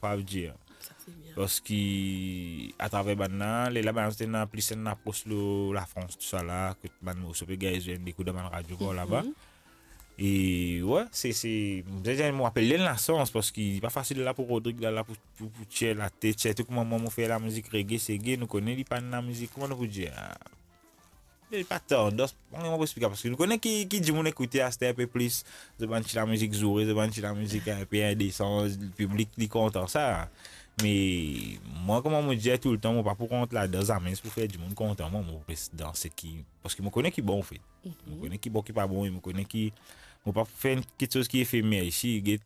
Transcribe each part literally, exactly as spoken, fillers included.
pa dir. Sa, se bien. Parski atraver bann la, lerla bann la, zot ena plis enn apros lor Lafrans, tousala, kot bann morso pe gagn zwe enn de kou dan bann radio par laba. Mhm. E, we, se, se, mo, mo apel li enn lasans, parski li pa fasil la pou Rodrig, la, la pou, pou, pou tir latet, sirtou kouma mwa, mo fer lamizik reggae, seggae, nou kone li pa enn lamizik, kouma nou pou dir, ah, li pa tandans, mo, mo pou explike, parski nou kone ki, ki dimoun ekoute aster enpe plis, zot bann ti lamizik zoure, zot bann ti lamizik enpe indesan, piblik li kontan sa. Me mwa, kouma mo dir toultan, mo pa pou rant ladan zame pou fer dimoun kontan mwa, mo res dan seki, parski mo kone ki bon, anfet. Mhm. Mo kone ki bon, ki pa bon, e mo kone ki, mo pa fer enn kiksoz ki efemer isi, get,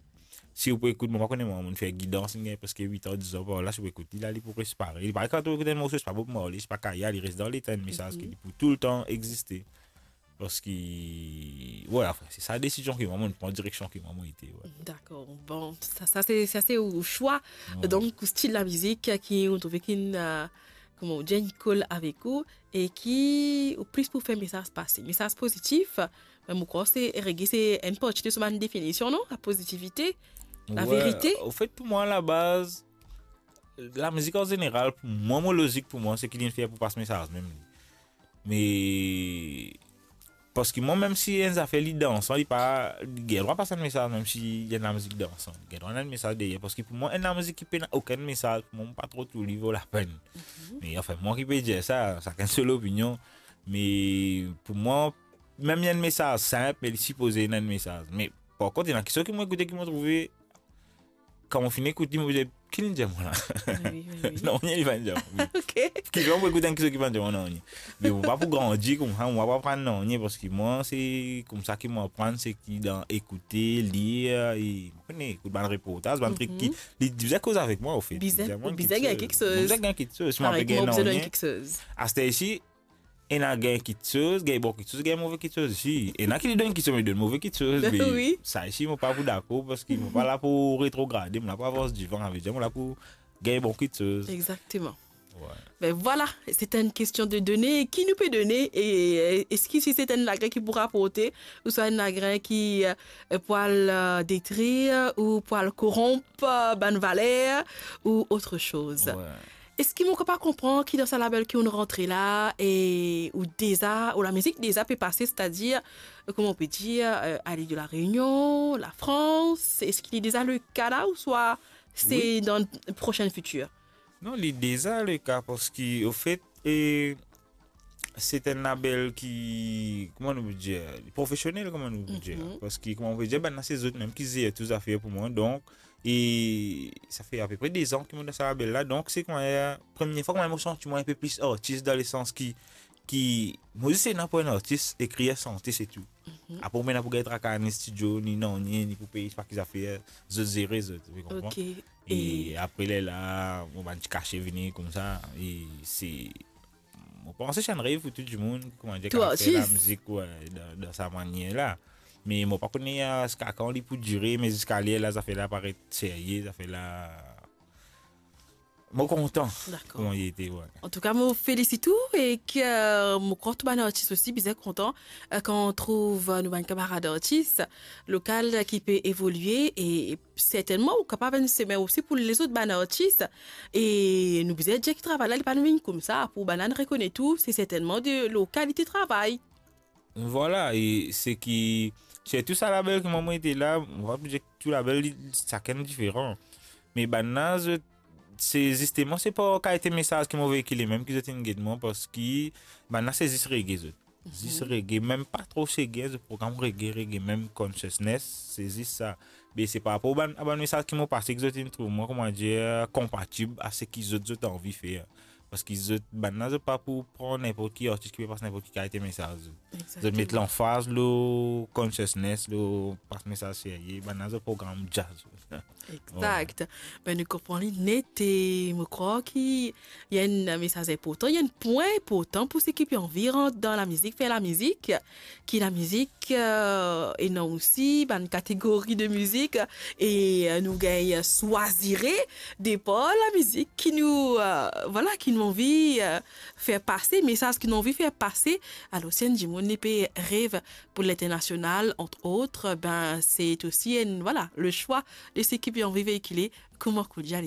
si ou pou ekout, mo pa kone mwa, mo fer gidans, li gagn preske wit an, diz an par la, si ou pou ekout li la, li pou res parey. Li parey kan ou ekout enn morso, se pa Bob Marley, se pa Kaya, li res dan letan, enn mesaz ki pou toultan existe. Parski, we, anfin, se sa desizion ki mwa, mo pran direksion ki mwa, mo ete, we. Dakor. Bon, sa, sa se, sa se ou swa. We. Donk, ou stil lamizik ki ou trouve ki, euh, kouma ou dir, li kol avek ou e ki ou plis pou fer mesaz pase. Mesaz pozitif, me mo krwar se reggae, se enn parti de so bann definision, non? La pozitivite, la verite. We, anfet, pou mwa, labaz, lamizik an zeneral, pou mwa, mo lozik pou mwa, se ki li fer pou pas mesaz mem li. Me, parski mwa, mem si enn zafer li dansan, li pa, li gagn drwa pas enn mesaz, mem si li enn lamizik dansan, li gagn drwa ena enn mesaz deryer. Parski pou mwa, enn lamizik ki pena okenn mesaz, pou mwa, mo pa tro trouv li vo lapenn. Mhm. Me, anfin, mwa ki pe dir sa, sakenn so lopinion. Me pou mwa, mem li enn mesaz sinp, me li sipoze ena enn mesaz. Me par kont, ena kiksoz ki mo ekoute ki mo trouve, kan mo fini ekout li, mo dir, "Ki li dir mwa la?" Wi, wi, wi. Nanye li pa dir mwa. Ok. Ki mo ekout enn kiksoz ki pa dir mwa nanye. Me mo pa pou grandi koumsa, mo pa pou aprann nanye, parski mwa, se koumsa ki mo aprann, se ki dan ekoute, lir, e mo kone, ekout bann reportaz, bann trik ki, mhm, li bizin koz avek mwa, anfet. Bizin, bizin gagn kiksoz. Bizin gagn kiksoz. Si mo pa gagn nanye, aster isi, ena gagn kiksoz, gagn bon kiksoz, gagn move kiksoz osi. Ena ki li donn kiksoz, li donn move kiksoz. Wi. Me sa isi, mo pa pou dakor, parski mo pa la pou retrograde, mo la pou avans divan, savedir mo la pou gagn bon kiksoz. Exactement. We. Ben voilà, c'est une question de données. Ki nou pe done, e, euh, eski si se enn lagren ki pou raporte, ouswa enn lagren ki, euh, pou al, euh, detrir, ou pou al koronp, euh, bann valer, ou autre chose? We. Eski mo kapav konpran ki dan sa label ki ou rantre la, e ou deza, ou lamizik deza pe pase, setadir, euh, kouma ou pe dir, euh, a l'île de la Réunion, la France, eski li deza le ka la, ouswa se, wi, dan le prochain futur? Non, li deza le ka, parski, anfet, e, se enn label ki, kouma nou pou dir, profesionel, kouma nou pou dir. Mhm. Parski, kouma nou pou dir, bann la se zot mem ki zer tou zafer pou mwa. Donk, e sa fer apepre dez an ki mo dan sa label la. Donk, se kouma, premie fwa kouma mo santi mwa enpe plis artis, dan lesans ki, ki, mo zis ena pou enn artis, ekrir, sante, se tou. Mhm. Apre, mo pena pou gagn traka, ni stidio, ni nanye, ni pou pey, pa ki zafer, zot zere zot, ou konpran? Ok. E, e apre lerla, mo bann ti kase vini koumsa, e se, mo panse se enn rev pou tou dimoun, kouma dir, tou ki fer artis, lamizik, we, dan, dan sa manier la. Me mo pa kone ziska kan li pou dire, me ziska lerla, zafer la paret serye, zafer la, mo kontan. Dakor. Kouma li ete, we. Antouka, mo felisit ou e ki, euh, mo krwar tou bann artis osi bizin kontan, euh, kan trouv, euh, nou bann kamarad artis lokal ki pe evolie e sertennman ou kapav enn semen osi pou lezot bann artis. E nou bizin dir ki travay la, li pa vinn koumsa, pou bann la rekonet ou, se sertennman de lokalite travay. Vwala, e se ki, sirtou sa label ki mwa mo ete la, mo pa pou dir tou label, li, sakenn diferan. Me bann la, zot, se zisteman, se pa kalite mesaz ki mo veikile mem ki zot inn get mwa, parski bann la se zis reggae zot. Mhm. Zis reggae, mem pa tro seggae, zot program reggae, reggae mem consciousness, se zis sa. Me se par rapor bann, a bann mesaz ki mo pase ki zot inn trouv mwa, kouma dir, konpatib a seki zot, zot anvi fer. Parski zot, bann la, zot pa pou pran ninport ki artis ki pe pas ninport ki kalite mesaz. Exactement. Zot met lanfaz lor consciousness, lor pas mesaz serye, bann la zot program jazz. Exact. Vwala. Ben, nou konpran li net e mo krwar ki ena enn mesaz inportan, ena enn pwin inportan pou seki pe anvi rant dan lamizik, fer lamizik, ki lamizik, euh, ena osi bann kategori de mizik, e, euh, nou gagn swazire depar lamizik ki nou, euh, vwala, ki nou anvi, euh, fer pase, mesaz ki nou anvi fer pase. Alor, si enn dimoun li pe rev pou linternasional, entre autres, ben, se osi enn, vwala, le swa de seki pe anvi veikile kouma Koudjal.